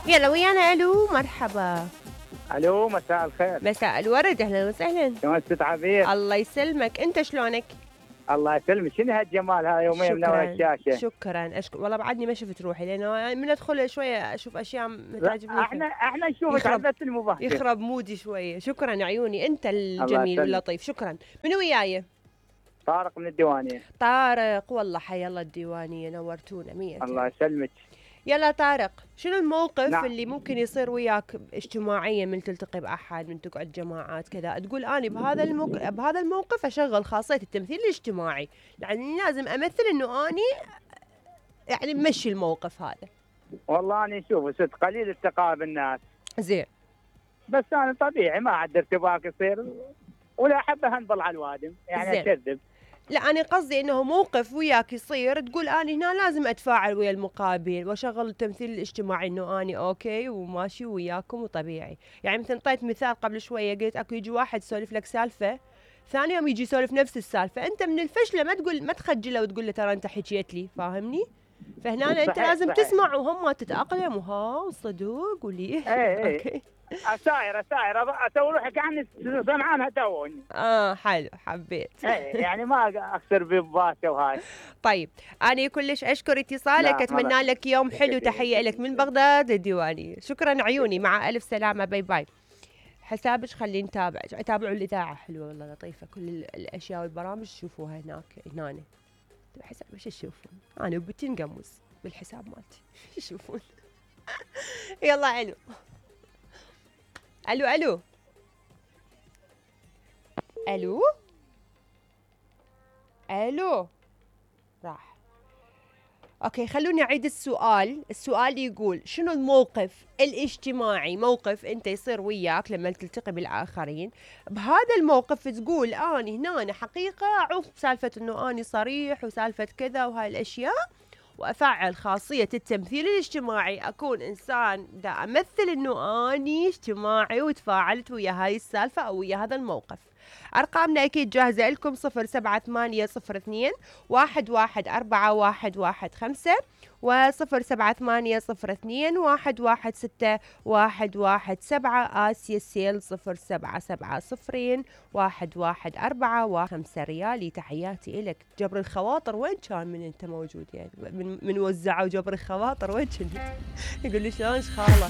يلا ويانا. الو مرحبا. الو مساء الخير. مساء الورد، اهلا وسهلا. شلون ست عبير؟ الله يسلمك، انت شلونك؟ الله يسلمك. شنو هالجمال هاي يومين من ورا الشاشه؟ شكرا والله بعدني ما شفت روحي، لانه من ادخل شويه اشوف اشياء ما تعجبني. احنا نشوفك على بث المباشر يخرب مودي شويه. شكرا عيوني، انت الجميل واللطيف. شكرا. من وياي؟ طارق من الديوانيه. طارق، والله حيا الله الديوانيه، نورتونا 100. الله يسلمك. يلا طارق، شنو الموقف نعم. اللي ممكن يصير وياك اجتماعيا، من تلتقي باحد، من تقعد جماعات كذا، تقول اني بهذا الموقف اشغل خاصيه التمثيل الاجتماعي، يعني لازم امثل انه اني يعني مشي الموقف هذا. والله اني اشوف ست قليل التقاء بالناس. زين. بس انا طبيعي ما عاد ارتباك يصير، ولا احب اهنبل على الوادم، يعني اكذب. لا أنا قصدي إنه موقف وياك يصير تقول أنا هنا لازم أتفاعل ويا المقابل وأشغل التمثيل الاجتماعي، إنه أنا أوكي وماشي وياكم وطبيعي. يعني مثل انطيت مثال قبل شوية، قلت أكو يجي واحد يسولف لك سالفة، ثاني يوم يجي يسولف نفس السالفة، أنت من الفشلة ما تخجله وتقول له ترى أنت حكيت لي، فاهمني؟ فهنا أنت لازم تسمع وهم تتأقلم وها صدق وليه. أوكي. اساير اسوي روحي كاني سمعانها توني. حلو، حبيت. يعني ما اخسر بباسه وهاي. طيب انا كلش اشكر اتصالك، اتمنى لك يوم حلو. تحيه لك من بغداد الديوانيه. شكرا عيوني، مع الف سلامه، باي باي. حسابك خلينا نتابع، تابعوا الاذاعه حلوه والله لطيفه، كل الاشياء والبرامج تشوفوها هناك. حساب ايش تشوفون؟ انا وبنتي نقمص بالحساب مالتي. يشوفون. يلا الو. الو الو الو الو. راح. اوكي خلوني اعيد السؤال يقول شنو الموقف الاجتماعي، موقف انت يصير وياك لما تلتقي بالاخرين، بهذا الموقف تقول اني هنا حقيقه اعوف سالفه انه اني صريح وسالفه كذا وهاي الاشياء، وافعل خاصيه التمثيل الاجتماعي، اكون انسان دا امثل انه اني اجتماعي وتفاعلت ويا هاي السالفه او ويا هذا الموقف. ارقامنا اكيد جاهزه لكم، 07802 114115 و07802 116117. آسيا السيل 0770 114 ريالي. تحياتي إلك. جبر الخواطر وين كان من انت موجود؟ يعني من وزعوا جبر الخواطر وين كنت؟ يقول لي شلونك خاله؟